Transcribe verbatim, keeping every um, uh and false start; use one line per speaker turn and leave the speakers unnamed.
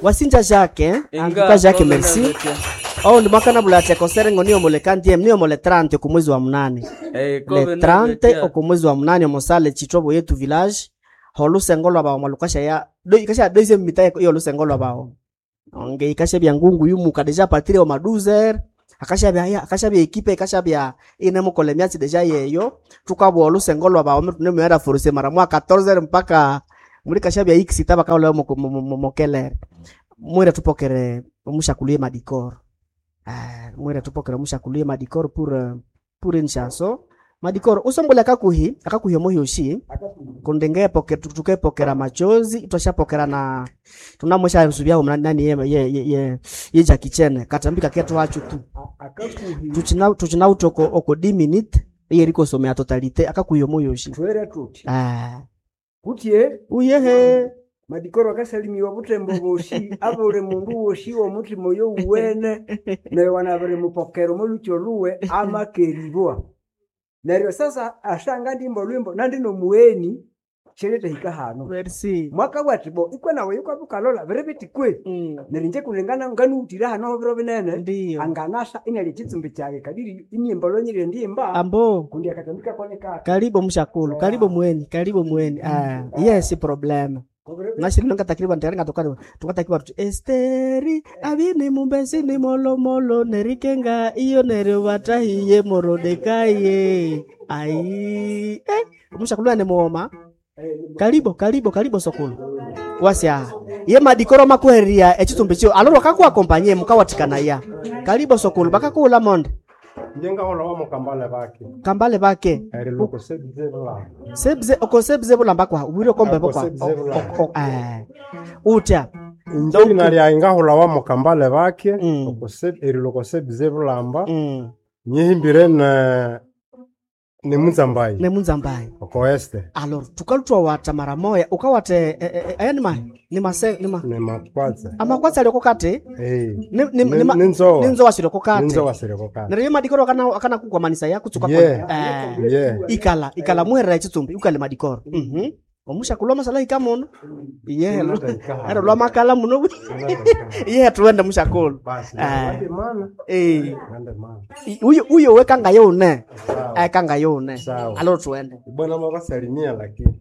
Wasinja Jacques, en tout cas Jacques merci. Oh ndi mwaka nabula tekosere ngo niyo mole kandiem niyo mole trente ku mwezi wa munane. Le trente oku mwezi wa munane omosale Chitobo yetu village holusengo lwa bawo malukasha ya do ikasha deuxième mita iyo lusengo lwa bawo. Onge ikasha bya ngungu yumuka déjà partir o ma douze heures akasha bya ya akasha bya ekipe ikasha bya ine mukole myatsi déjà yeyo tukabwa olusengo lwa bawo ne mwera force mara mwa quatorze heures mpaka muri kasha bya x tabaka mokelere mwira tupokere omushakulie madikoro. Ah, mwira tupokere omushakulie madikoro pour euh, pour une chanson madikoro usombola akakuhi akakuhi omuhi oshi kundenge poke tukepokera machozi twashapokera na tunamwesha subyaho nani ye ye ye, ye, ye Jackie Chan katambika ketu hacho tu
Akakuhi
tuchina tuchina utoko oko dix minutes yeriko somea totalité akakuhi omuhi oshi
twere tuti
ah
kutye
uyehe
madikoro akasalimiwa butembo boshi abuli mundu woshi womutima oyo uwene neryo wanabiri mupokera omolukyo luwe amakeribwa neryo sasa ashanga ndimba olwimbo nandi nomuweni sheleta hano
merci
mwaka bwati bo ikwe nawe yukwabukalola biri biti kwe
mm.
neryo inje kulingana nganuwutire hano biro binene
ndiyo
anganasha inalya ekitsumbi kyage kadiri inyimba lwanyire ndimba
ambo
kundi akatambika koneka
karibu mshakulu karibu mweni karibu mweni ah, yes problem nashiri takriban tayari ngatoka tukatakiwa tuti Esteri abini mumbesini molomolo nerikenga iyo neri watahiye morodekaye ai eh, mshakulu ane muoma karibu karibu karibu sokulu wasya ye madikoro makuheria echitsumbi chio aloro kakuakompanye mukawatikana ya karibu sokulu bakakula monde
njengahola wa mukambale bake
kambale bake
eri loko sebze bulamba
sebze okosebze bulamba kwa wiro kombe kwa
Okosebze bulamba.
O- o- eh. utya
inje lina lyayi ngahola wa mukambale bake
Mm.
okose- eri loko sebze bulamba
mm.
nyihimbire ne ne munzambayi
ne munzambayi
oko este
alors tukalutwa wata mara moya ukawate eh, eh, eh, aya ni ma ni mase ni ma
ne makwatse
amakwatsa aliko kati
eh
ni ni
Ni-
ni ma-
ninzowa.
ninzowa shiloko kati
ninzowa siriko kati
neryo madikoro akana akana kukwamanisa ya kutsuka
Yeah.
eh
yeah
ikala ikala muherera echitsumbi ukale madikoro mhm omusha kulwa masala ikamono iye ero lwa makala muno iye tuende mushakulu
basi
Eh.
nande mana
eh
nande mana
uyo uyo wekanga yone
sawa
ekanga yone
Sawa.
alo tuende
bwana mabasalimia lakini